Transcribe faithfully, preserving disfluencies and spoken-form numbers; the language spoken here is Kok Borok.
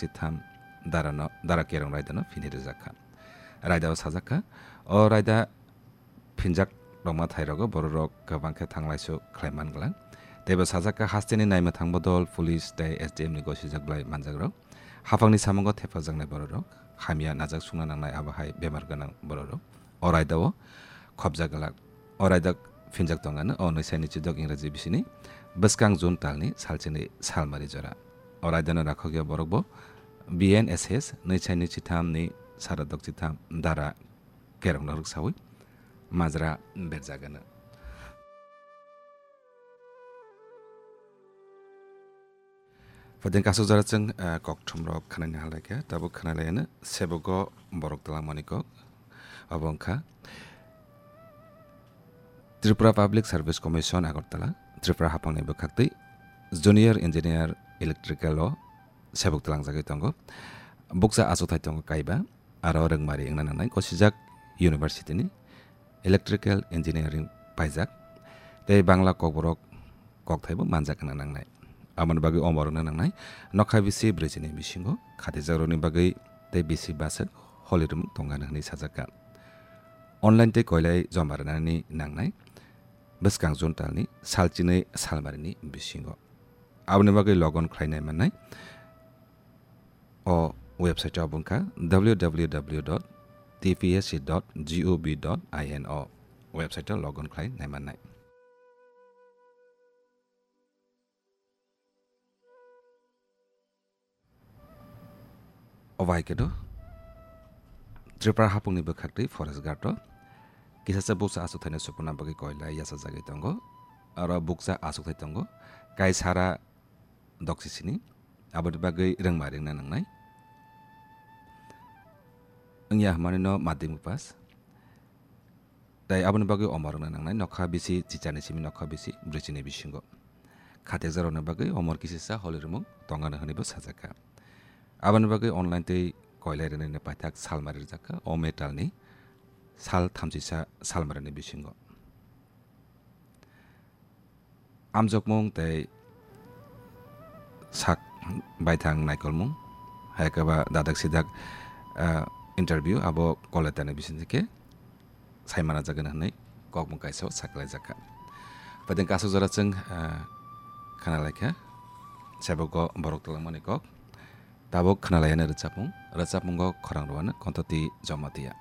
chitham darano, dara kerong raidano phini rijak kha. Raidao sajak kha, o raida phinjak rokma thairogo bororok kwbang khe thanglaisu khlai man glak. Teibo sajak kha, hasteni naima thangbo dol, police tei S D M ni gosijak blai manjak rok. Haphangni samungo thepajaknai bororok, hamya najak sungna nangnai abo hai bemar gwnang bororok. O raidao khopjak glak. O raida phinjak tongano o nwisaini chidok Ingraji bisini bwskang June talni salchini salmari jora. O raidano rakhokya borokbo B N S S nwisaini chithamni saradok chitham dara kerongno rwksawi majra berjagano. Phaideng kasu jora chwng, eh, kokthumrok khwnani halai khe, tabuk khwnalaiyano sebogo borok twlangmani kok. Abo wngkha Tripura Public Service Commission Agartala, Tripura haphangni bwkhaktwi Junior Engineer Electrical o sebuk twlangjagwi tongo. Bukcha achukthai tongo kaiba, aro rwngmari wngna nangnai gosijak university ni electrical engineering paijak, tei Bangla kokborok kokthaibo manjak wngna nangnai. Aboni bagwi omor wngna nangnai nokha bisi brwichini bisingo khatijakrokni bagwi tei bisi bwswk holirwmwk tongano hwnwi sajak kha. Online tei koilai joma rwnani nangnai bwskang June talni salchinwi salmarini bisingo. Aboni bagwi log on khlainai mannai o website o, abo wngkha W W W dot T P S C dot gov dot I N o website o log on khlai naimannai. Obo hai khe do Tripura hapungni bwkhaktwi Forest Guard o kisasa bukcha achukthai no supuna bagwi koilai yachajagwi tongo. Aro bukcha achukthai tongo kaisara doksisini, aboni bagwi rwngma ringna nangnai. Wngya hwnmani no madhyamik pass. Tei aboni bagwi omor wngna nangnai nokha bisi chichani simi nokha bisi brwichini bisingo. Khatekjakrokni bagwi omor kisisa holirwmwk tongano hwnwibo sajakha. Aboni bagwi online tei koilai rwnani paithak salmari rwjakha o metalni sal thamchisa salmarini bisingo. Amjokmung tei sak baithang naikolmung, hai khe ba dadak sidak, ah, interview abo koletani bisingtwi khe saimana jagani hwnwi kokmung kaisa o sakhlaijakha. Phaideng kasu jora chwng, ah, khwnalaikha, sebogo borok twlangmani kok. Tabuk khwnalaiyani rwchapmung, rwchapmungo khorang rwani Kontoti Jamatia.